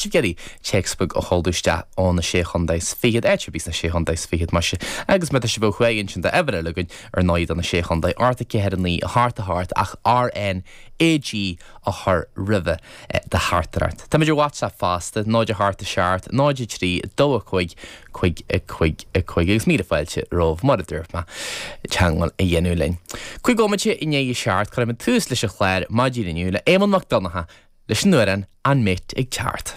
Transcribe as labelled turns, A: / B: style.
A: Sibh ag iarraidh téacs beag a sheoladh isteach ó na Sé Chontae is Fichead, áit ar bith sna Sé Chontae is Fichead, maise. Agus má tá sibh ó thuaidh ansin tá uimhir eile againn ar ndóigh do na Sé Chontae, 8 4 9 8 8 ach RNAG a chur roimhe do theachtaireacht. Táimid ar WhatsApp fosta, 0 8 7 0 3 2 5 5 5 5 agus míle fáilte romhaibh, mar a dúirt mé, teagmháil a dhéanamh linn. Cúig bhomaite i ndiaidh a seacht, cuirfimid tús leis an chlár maidin inniu le Éamonn Mac Donncha leis an amhrán An Mate ag Teacht.